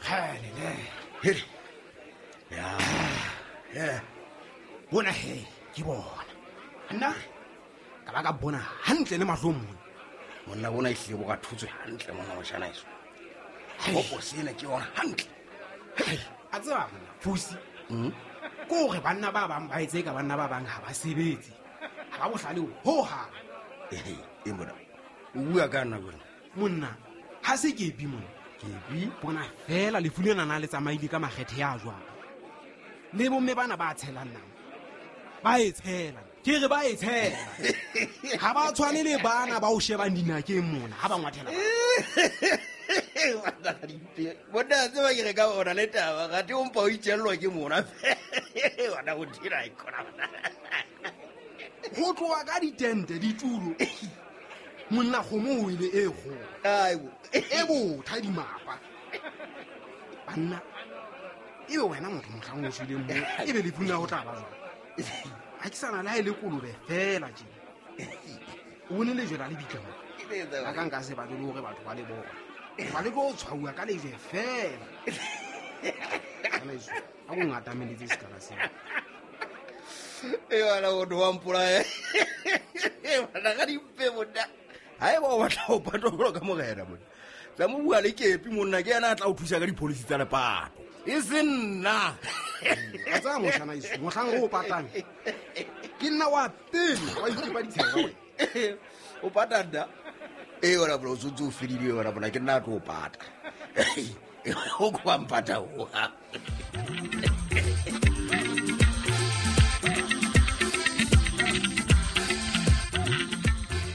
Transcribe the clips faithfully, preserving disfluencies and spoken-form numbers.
Hele. Hele. Ya. Yeah. Bona he, ke bona. Nna ka ba ka bona hantle le mahlong mona. Monna bona e hlile bo ka thutswe hantle monna moshana eso. Gopo sena ke yona hantle. A tseba monna, Fusi. Mm. Ko re banna ba bang ba etse ka banna ba bang ha ba sebetse. Ha ba bohlale ho ha. Eh, e mona. O bua ka nna bona. Monna, ha se ke epi monna. Ke epi? Bona fela lefu lena na le tsamaile ka makgethe ya jwang. Le bomme bana ba tshelang nama. Ba e tshela. Ke re ba e tshela. Ha ba tshwane le bana ba o shebang dinakeng mona ha ba ngwathela. Bona tseba ke re ka ona le taba ga te o mpa o itjellwa ke mona. Wena o dira e khona bona. Ho tloha ka ditente ditulo. Monna kgomo o ile e kgolo. Aibo. E botha dimapa. Banna e be wena motho mohlang o shweleng mo e be lefu la ho tla ba jwang. Ha ke sana le ha e le kolobe fela tje. O bone lejwe la lebitla mo. A ka nka se ba le hore batho ba le bona. Ba le go tshwauwa ka lejwe fela. Kana iso a go ngatameletse sekala seo. E wala o do mpolaya. E wala ga dimpe monna. Ha e ba o batla ho patwa jwalo ka morena monna. Tla mo bua le kepi monna ke yena a tla o thusa ka dipolisi tsa lepato. E se nna. A tsaya moshana iso mohlang o patang. Ke nna wa pele wa itepa ditshego wena. O pata nna. E wala bro o ntse o fedile wena bona ke nna a tlo o pata. O kwa mpata o.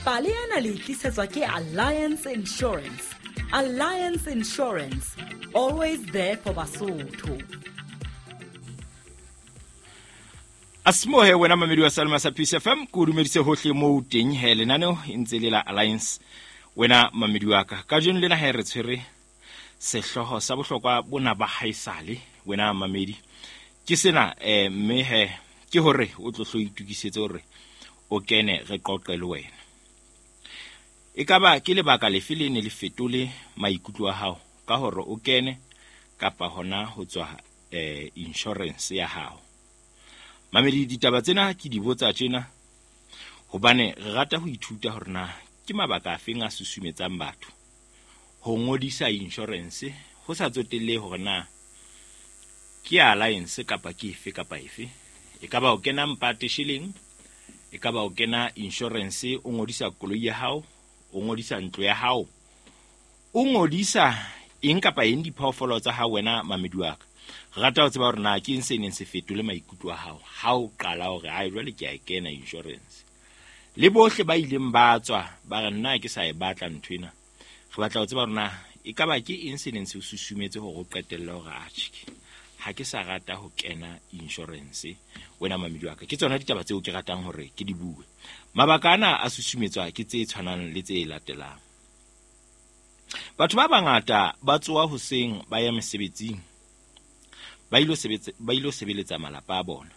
Pale ena le tlisetswa ke Alliance Insurance. Alliance Insurance, always there for Basotho. Asimohe wena mamedi wa Salma sa Peace F M, ko dumedise hohle mo teng he lenaneo e ntse le la Alliance. Wena mamedi wa ka, kajeno lena he re tshwere sehlooho sa bohlokwa bona ba haesale wena mamedi. Ke sena eh mme he ke hore o tlo hlo itukisetse hore o kene re qoqe le wena. E ka ba ke lebaka lefe le ne le fetole maikutlo a hao ka hore o kene kapa hona ho tswa eh insurance ya hao. Mamedi ditaba tsena ke di botsa tjena hobane re rata ho ithuta hore na ke mabaka afe a susumetsang batho ho ngodisa insurance ho sa tsotelle hore na ke Alliance kapa ke efe kapa efe. E ka ba o kena mpate shilling, e ka ba o kena insurance o ngodisa koloi ya hao, o ngodisa ntlo ya hao, o ngodisa eng kapa eng diphoofolo tsa hao wena mamedi wa ka. Re rata ho tseba hore na ke eng se neng se fetole maikutlo a hao ha o qala hore ai jwale ke a e kena insurance. Le bohle ba ileng ba tswa ba re nna ke sa e batla ntho ena. Re batla ho tseba hore na e ka ba ke eng se neng se o susumetse hore o qetelle hore atjhe ha ke sa rata ho kena insurance wena mamedi wa ka. Ke tsona ditaba tseo ke ratang hore ke di bue. Mabaka ana a susumetswa ke tse tshwanang le tse latelang. Batho ba bangata ba tsoha hoseng ba ya mesebetsing. Ba ilo sebetsa ba ilo sebeletsa malapa a bona.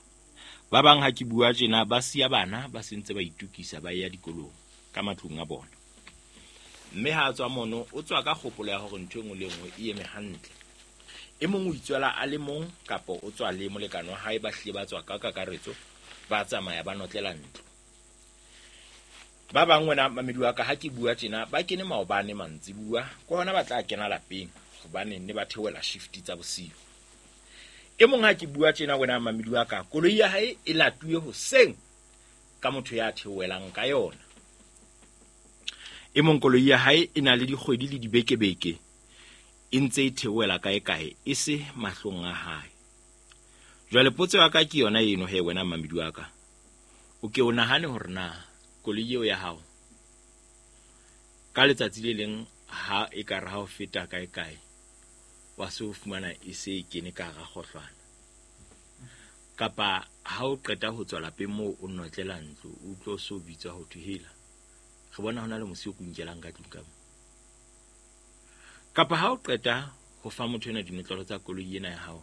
Ba bang ha ke bua tjena ba siya bana ba sentse ba itukisa ba ya dikolong ka matlung a bona. Mme ha tswa mono o tswa ka kgopolo ya hore ntho e nngwe le nngwe e eme hantle. E mong o itswela a le mong kapa o tswa le molekane wa hae ba hlile ba tswa ka kakaretso ba tsamaya ba notlela ntlo. Ba bang wena mamedi wa ka ha ke bua tjena ba kene maobane mantsibuwa ke hona ba tla kena lapeng hobane ne ba theohela shift tsa bosiu. E mong ha ke bua tjena wena mamedi wa ka koloi ya hae e latuwe hoseng ka motho ya theohelang ka yona. E mong koloi ya hae e na le dikgwedi le dibekebeke e ntse e theohela kae kae e se mahlong a hae. Jwale potso ya ka ke yona eno he wena mamedi wa ka. O ke o nahane hore na koloi eo ya hao ka letsatsi le leng ha e ka re ha o feta kae kae wa se o fumana e se e kene ka hara kgohlwana. Kapa ha o qeta ho tswa lapeng moo o notlela ntlo o tlo so bitswa ho thwe hela. Re bona hona le mosi o kunkelang ka tlung ka mo. Kapa ha o qeta ho fa motho ena dinotlolo tsa koloi ena ya hao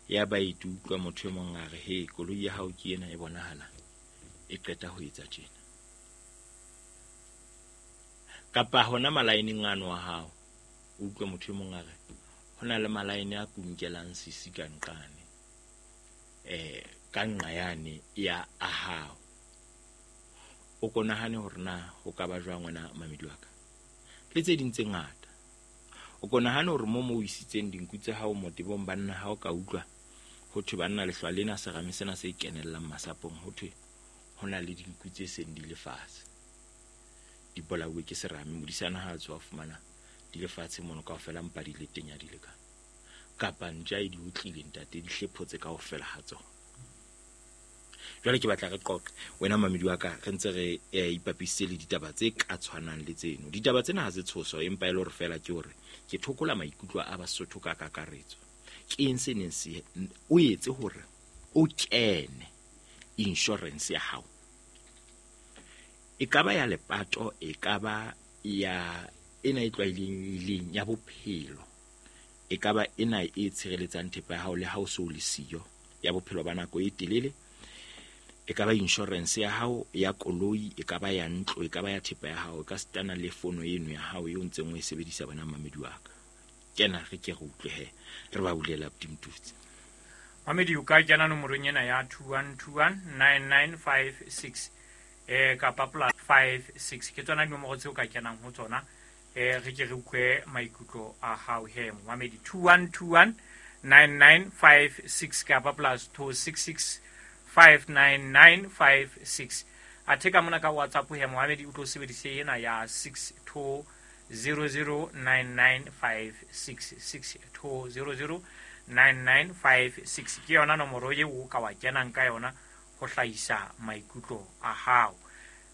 ya ba e utlwa motho e mong a re he koloi ya hao ke ena e bonahala e qeta ho etsa tjena. Kapa hona malaeneng ano wa hao o utlwa motho e mong a re Ho na le malaene a kunkelang sisi ka nqane eh ka nqa yane ya a hao. O ko nahane hore na ho ka ba jwang wena mamedi wa ka le tse ding tse ngata. O ko nahane hore mo mo o isitseng dinku tsa hao motebong banna ha o ka utlwa ho thwe banna lehlwa lena serame sena se kenellang masapong, ho thwe ho na le dinku tse seng di le fatshe, di bolauwe ke serame. Modisana ha a tswa fumana di le fatshe mono kaofela, mpa di le teng ya di le ka kapa ntja e di utlile ntate, di hlephotse kaofela ha tsona. Jwale ke batla re qoqe wena mamedi wa ka, re ntse re eh, ipapisitse le ditaba tse ka tshwanang le tseno. Ditaba tsena ha se tshoso, empa e le hore fela ke hore ke thokola maikutlo a Basotho ka kakaretso. Ke eng se neng se o etse hore o kene insurance ya hao? E ka ba ya lepato, e ka ba ya ena e tlwaelehileng ya bophelo, e ka ba ena e tshireletsang thepa ya hao le ha o so le siyo, ya bophelo ba nako e telele, e ka ba insurance ya hao ya koloi, e ka ba ya ntlo, e ka ba ya thepa ya hao, e ka sitana le fono eno ya hao eo ntseng o e sebedisa bona mamedi wa ka. Kena re ke re utlwe he, re ba bulela Mtutsi. Mamedi o ka kena nomorong ena ya two one two one nine nine five six eh kapa plus five six, ke tsona dinomoro tseo ka kenang ho tsona. Eh re ke re utlwe maikutlo a hao he mamedi, two one two one nine nine five six kapa plus two six six five nine nine five six. Athe ka mona ka WhatsApp he Mohamedi o tlo sebedise ena ya six two zero zero nine nine five six, six two zero zero nine nine five six ke yona nomoro eo o ka wa kenang ka yona ho hlahisa maikutlo a hao.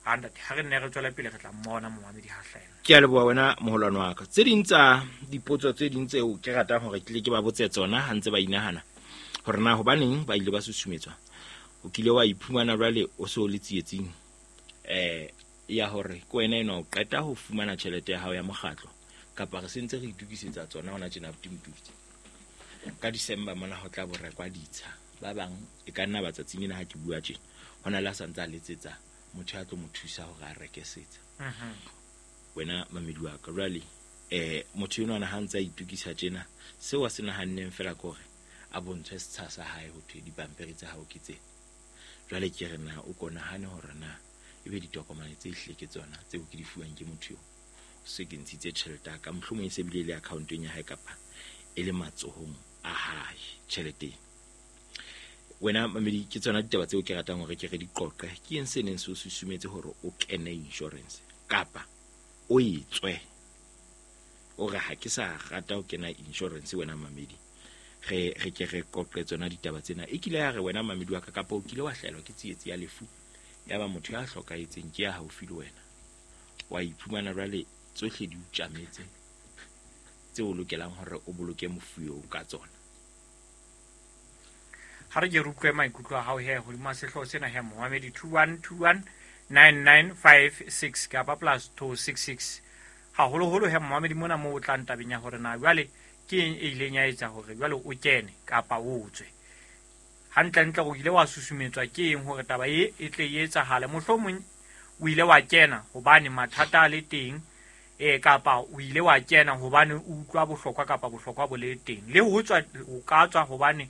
Ha ntate, ha re nne re tswela pele re tla mmona Mohamedi ha hlahela. Ke a leboha wena moholwane wa ka. Tse ding tsa dipotso tse ding tseo ke ratang hore ke tle ke ba botse tsona ha ntse ba inahana hore na hobaneng ba ile ba susumetswa. O kile wa iphumana jwale o so le tsietsing eh ya hore ke wena eno o qeta ho fumana tjhelete ya hao ya mokgatlo, kapa re sentse re itokisetsa tsona hona tjena Mtutsi. Ka December mona ho tla bo rekwa ditsha. Ba bang e ka nna batsatsing ena ha ke bua tjena hona le a santse a letsetsa motho ya tlo mo thusa hore a reke setsa. Mhm. Wena mamedi wa ka jwale eh motho enwa ha ntse a itokisa tjena, seo a se nahanneng fela ke hore a bontshwe setsha sa hae ho thwe dipampiri tsa hao ke tse. Jwale ke re na o ko nahane hore na ebe ditokomane tse hle ke tsona tseo ke di fuwang ke motho eo, se ke ntshitse tjhelete ya ka, mohlomong e se bile le account-eng ya hae kapa e le matsohong a hae tjhelete. Wena mamedi, ke tsona ditaba tseo ke ratang hore ke re di qoqe. Ke eng se neng se o susumetse hore o kene insurance kapa o e tswe? O re ha ke sa rata ho kena insurance wena mamedi, re re ke re qoqe tsona ditaba tsena. E kile ya re wena mamedi wa ka, kapa o kile wa hlahelwa ke tsietsi ya lefu ya ba motho ya hlokahetseng ke ya haufi le wena, wa iphumana jwale tsohle di o tjametse tseo o lokelang hore o boloke mofu eo ka tsona. Ha re ke re utlwe maikutlo a hao he hodima sehlooho sena he Mohamedi, two one two one nine nine five six kapa plus two six six. Haholoholo he Mohamedi mona moo o tlang tabeng ya hore na jwale ke eng e ileng ya etsa hore jwale o kene kapa o tswe. Hantlentle o ile wa susumetswa ke eng hore taba e e tle e etsahale? Mohlomong o ile wa kena hobane mathata a le teng, eh kapa o ile wa kena hobane o utlwa bohlokwa kapa bohlokwa bo le teng. Le ho tswa o ka tswa hobane